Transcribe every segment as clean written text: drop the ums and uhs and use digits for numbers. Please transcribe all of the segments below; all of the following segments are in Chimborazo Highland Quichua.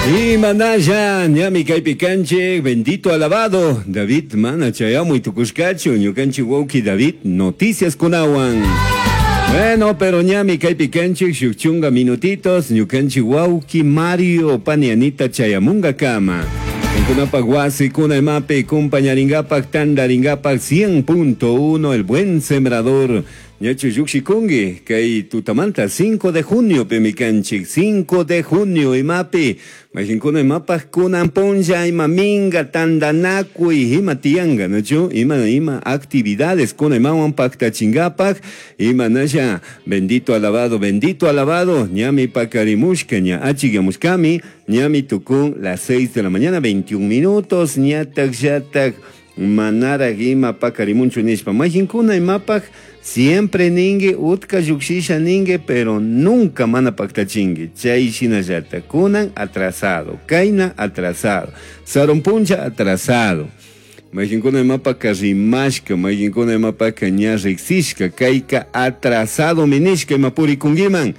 Imanalla ñami kaypi kanchik, bendito alabado David mana chayamuy tukushkachu ñukanchik wawki David noticias kunawan. Bueno, pero ñami kaypi kanchik shuk chunga minutitos ñukanchik wawki Mario pani Anita chayamungakama. Kankunapak wasikuna imapi kumpañarinkapak tantarinkapak 100.1 El Buen Sembrador. Ñachu llukshikunki kay tutamanta 5 de junio pimi kanchik 5 de junio imapi mayqinkuna imapaq kunan punlla ima minga tantanakuy ima tiyanka nachu ima ima actividades kuna imawan paktachinkapak imanalla bendito alabado bendito alabado ñami pakarimushka ña achikyamushkami ñami tukun las 6 de la mañana 21 minutos ñatak llatak manaraq ima pakarimunchu nishpa mayqinkuna imapaq siempre ninki utka llukshisha ninki pero nunca mana paktachinki chay shinallata kunan atrasado kayna atrasado sarun punlla atrasado mayqinkuna imapaka rimashka mayqinkuna imapaka ña riksishka kayka atrasado minishka ima purikunkiman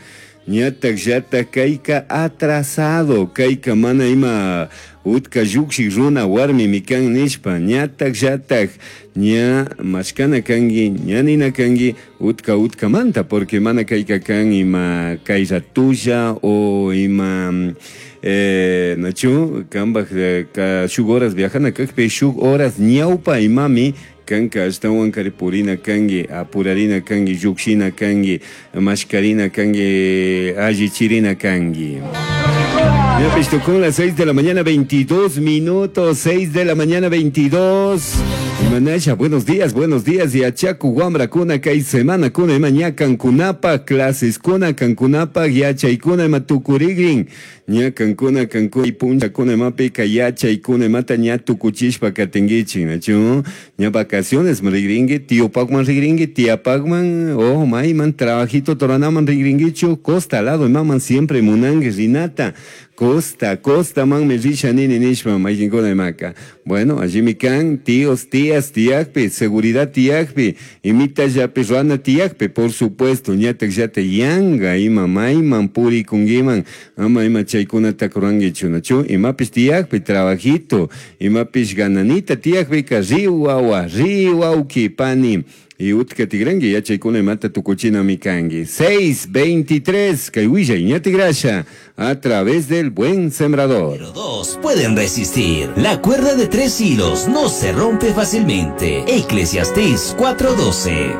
ñatak llatak kayka atrasado kayka mana ima utka llukshik runa warmimi kan nishpa ñatak llatak ña mashkana kanki ña nina kanki utka utkamanta porque mana kayka kan ima kay ratulla o ima nachu kanpak shuk horas viajana kakpi shuk horas ñawpa imami kanka ashtawan kari purina kanki apurarina kanki llukshina kanki mashkarina kanki allichirina kanki. Ya pues tocó las 6 de la mañana 22 minutos, 6 de la mañana 22. Imanasha, buenos días, buenos días. Yachaku wamrakuna kay semana kuna ima ña kankunapa clases kuna kankunapa yachaykuna ima tukurigrin. Ña kankuna kankuna punchakuna imapika yachaykuna imata ña tukuchishpa katinkichik, nachu? Ña vacaciones rigrinki, tiopakman rigrinki, tiapakman, oh, mayman trabajito toranaman rigrinkichu, costa lado imaman siempre munanki rinata. Costa, costa man me risha nini nishpa mayqinkuna imaka. Bueno, allimi kan tíos, tías, tiyakpi, seguridad tiyakpi, imitallapi ruana tiyakpi, por supuesto, ñatak llata yanga ima mayman purikunkiman, ama ima chaykunata rurankichu, nachu, imapis tiyakpi, trabajito, imapis gananita tiyakpika, ri wawa, ri wawki, pani. Y utka tigranki yachaykuna imata tukuchinami kanki. 6:23, kay willay ña tigrasha a través del Buen Sembrador. Pero dos pueden resistir. La cuerda de 3 hilos no se rompe fácilmente. Eclesiastés 4:12.